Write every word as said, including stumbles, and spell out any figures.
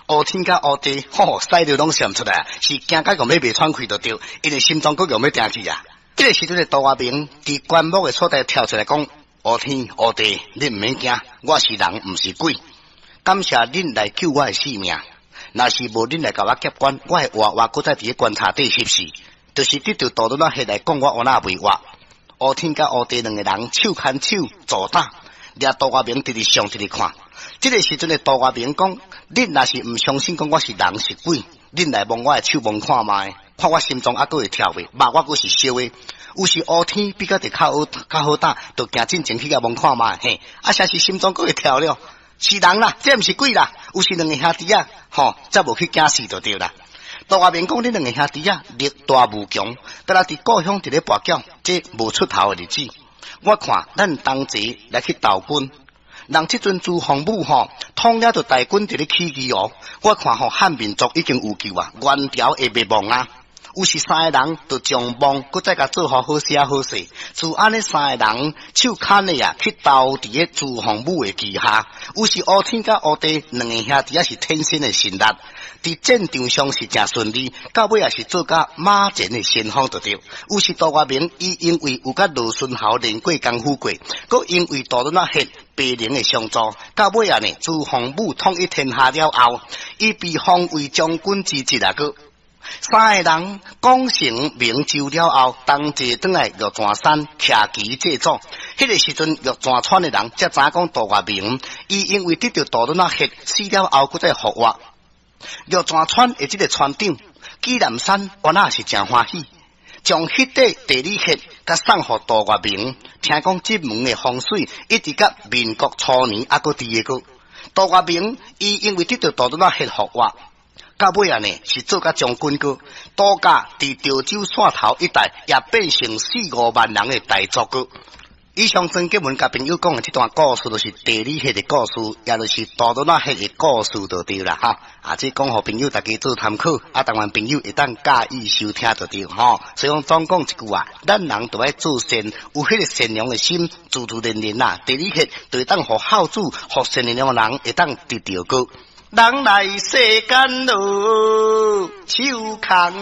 烏天佮烏地，吼，屎尿攏閃出來，是驚甲共欲袂喘氣就對，因為心臟閣共欲定去啊。這個時陣的杜月明佇棺木的所在跳出來講：烏天烏地，恁毋免驚，我是人，毋是鬼。感謝恁來救我的性命，若是無恁來共我劫棺，我會活活閣再佇咧棺柴底翕死。就是得著杜潤仔彼來講我原來袂活。烏天佮烏地兩個人手牽手做膽，掠杜月明直直上直直看。這個時陣的杜月明講：恁若是毋相信講我是人是鬼，恁來摸我的手摸看覓，看我心臟猶閣會跳袂，肉我閣是燒的。有時烏天比較得較好較好膽，就行進前去共摸看覓，嘿，啊，啥是心臟閣會跳了，是人啦，這毋是鬼啦。有時兩個兄弟仔，吼，才無去驚死就對啦。杜月明講：恁兩個兄弟仔力大無窮，敢若佇故鄉佇咧跋筊，這無出頭的日子。我看咱同齊來去投軍，人這陣朱洪武吼，統領著大軍佇咧起義哦。我看吼漢民族已經有救啊，元朝會滅亡啊。有時三个人就將夢閣再共做好好寫好勢，自按呢三個人手牽的啊，去投佇咧朱洪武的旗下。有時烏天佮烏地兩個兄弟仔是天生的神力，佇戰場上是誠順利，到尾也是做甲馬前的先鋒就對。有時杜月明伊因為有佮羅孫豪練過功夫過，閣因為杜潤仔彼白靈的相助，到尾仔呢朱洪武統一天下了後，伊被封為將軍之職啊閣。三個人功成名就了後，同齊轉來玉泉山徛旗祭祖。彼個時陣，玉泉村的人才知影講杜月明，伊因為得著杜潤仔彼死了後，閣再復活。玉泉村的這個村長紀南山，原來是誠歡喜，將彼塊地理穴共送予杜月明。聽講這門的風水，一直到民國初年猶閣佇个。杜月明伊因為得著杜潤仔彼復活。到尾仔呢，是做甲將軍閣，杜家佇潮州汕頭一帶也變成四五萬人的大族閣。以上曾潔文共朋友講的這段故事，就是地理學的故事，也就是杜潤仔彼的故事就對啦哈。啊，這講予朋友大家做參考，啊，台灣朋友會當佮意收聽就對吼。所以講總講一句話，咱人都愛做善，有彼個善良的心，自自然然啊，地理學就會當予孝子，予善良的人會當得著閣。人來世間囉，手牽。